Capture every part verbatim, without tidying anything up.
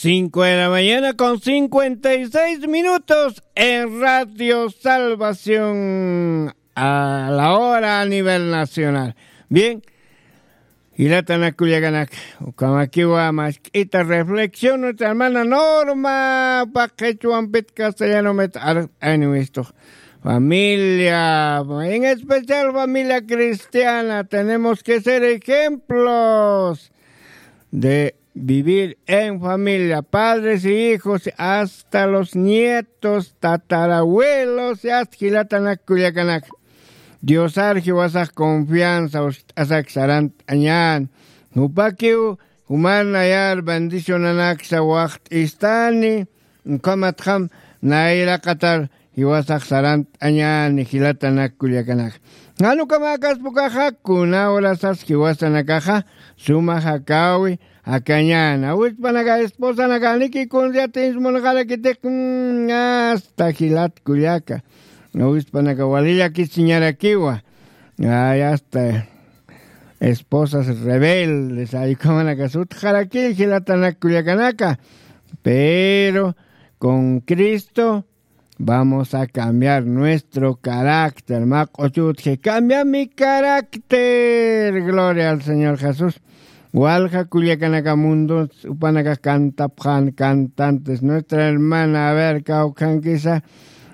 Cinco de la mañana con cincuenta y seis minutos en Radio Salvación a la hora a nivel nacional. Bien, jilatanak kullakanak, ukamakiwa mask'ita reflexión nuestra hermana Norma, paqechwampit castellano met ar aniwisto. Familia, en especial familia cristiana, tenemos que ser ejemplos de vivir en familia, padres y hijos, hasta los nietos, tatarabuelos, y hasta jilatanak kullakanak. Diosar jiwasax confianza uskt'asak sarant'añän. Jupakiw juman nayar bendicionanaksa waxt'istani, ukhamatxam nayraqatar jiwasax sarant'añäni jilatanak kullakanak. Jan ukamäkaspa ukaxa, kuna urasas jiwasanakaxa suma jakäwi jakañäni. Awispanaka esposanaka janiki kunsa yatiñs munxarakitix, mm, hasta jilat kullaka. Awispanaka wali llakisiñarakiwa. Ay, hasta esposas rebeldes, ay, ukhamanakas utjarakï jilatanak kullakanaka. Pero con Cristo vamos a cambiar nuestro carácter. Mä q'uchutxi, cambia mi carácter. Gloria al Señor Jesús. Walja kullakanaka mundo jupanakax cantapxän, cantantes. Nuestra hermana, a ver, kawkhankisa,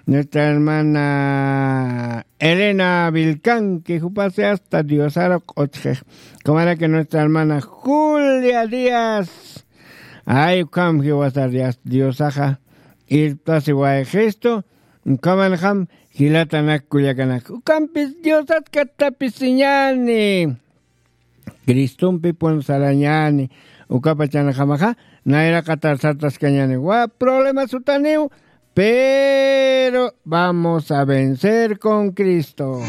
nuestra hermana Elena Vilcanque, jupasi hasta Diosar q'uchxix. Ukhamaraki nuestra hermana Julia Díaz. Ay, ukham jiwasar Dios, Diosaxa irptasiwayxistu, ukhamanxam jilatanak kullakanak. Ukampis Diosat kattapisiñäni. Cristompipun sarañäni, ukapachanxamaxa nayraqatar sartaskañäni. Wa problemas jutaniw, pero vamos a vencer con Cristo.